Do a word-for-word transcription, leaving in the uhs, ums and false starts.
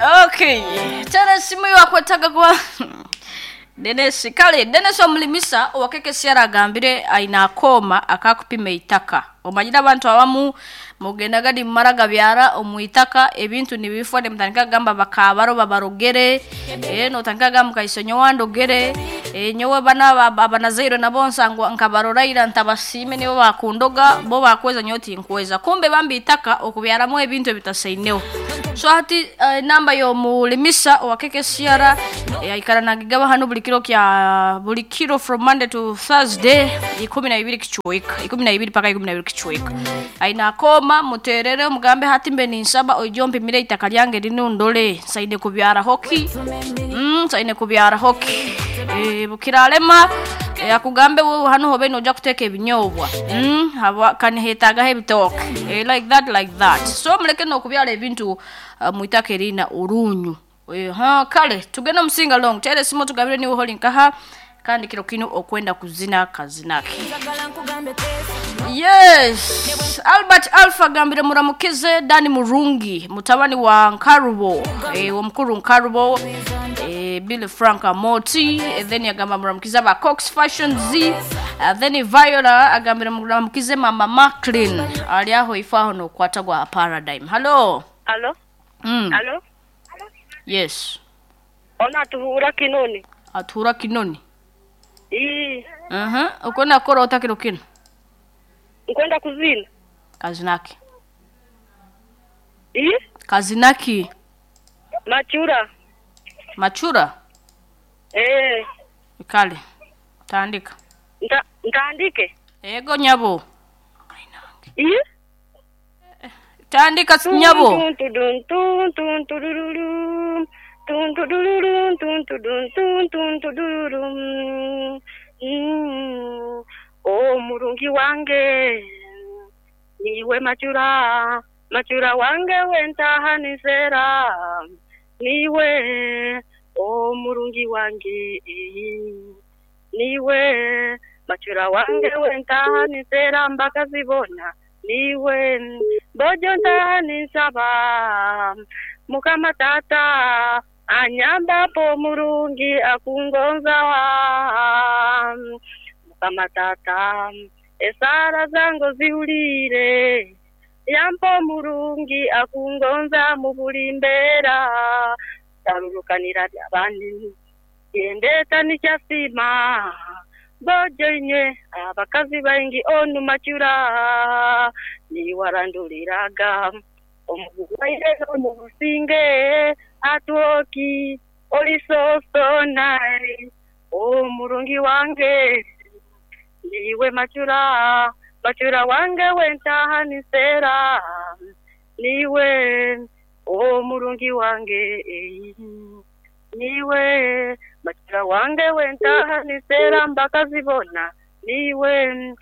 Okay, tena simu yakwetaga kwa Dennis kale Dennis omulimisa owakekesi agambire aina akoma akakupima eitaka. Omanyire abantu abamu mugendaga nimumara gabyara omu itaka, ebintu nibifwa, nimutandika kugamba bakabaro babarogere, eh notandika kugamba mukaiso nyowe andogere, eh nyowe bana abanazaire nabo nsangwa nkabaroraira ntabasiime, nibo bakundoga bo bakweza nyowe tinkweza, kumbe bambi itaka okubyaramu ebintu ebitasaineho. So hati uh, namba y'omulimisa owa K K C R eh, aikara nagigaba hano buli kiro kya buli kiro from Monday to Thursday ikumi na ibiri kichweka ikumi na ibiri paka ikumi na ibiri kichweka. Aina akoma, muterere omugambe hati mbe ninsaba oije ompimire itaka lyange rinu ndole nsaine kubyara hoki mm, nsaine kubyara hoki e, bukiralema e, akugambe wewe hano hobe noja kuteka ebinyobwa mm, haba kanihetagaho ebitoke e, like that like that. So muleke nokubyara ebintu uh, mwitaka erina orunyu. e, ha kale tugende omusinga long tere simu tugabire niwe holi nkaha kandi kiro kino okwenda kuzina kazinake. Yes, Albert Alpha gambire muramukize Dani Murungi, mutabani wa Nkarubo, eh, omukuru Nkarubo, eh, Billy Frank Amoti, eh, then yagamba muramukize ba Cox Fashion Z, uh, then Viola agambire muramukize Mama Macklin ali aho ifaho nokwata gwa Paradigm. Hello. Alo? Mm. Alo? Yes. Ona atuhura Kinoni. Atura Kinoni. Ii, Mhm. Uh uko nakora utakiro kino. Nkwenda kuzina. Kazinaki. Ii, Kazinaki. Machura. Machura. Eh, Kale. Tandika. nta ntaandike. Ego nyabo. Ii? Tandika nyabo. Tun tun tun tun turururu. Tun turururu tun turun tun tun tururu. Mm. Oh, murungi wange. Niwe machura. Machura wange wentahanisera. Niwe oh murungi wange. Niwe machura wange wentahanisera mbakazibona. Niwe bojo ntahanisaba mukama tata anyambapo murungi akungonza mukama tata esara zango ziulire yampo murungi akungonza mu buli mbeera tarurukanira byabandi yendeta nikyasima bojo inywe abakazi baingi onu machura niwaranduliraga omuguwaire mu businge atuoki oli sosonai omurungi wange niwe machura machura wange wentahanisera niwe omurungi wange niwe machura wange wentahanisera mbakazibona niwe.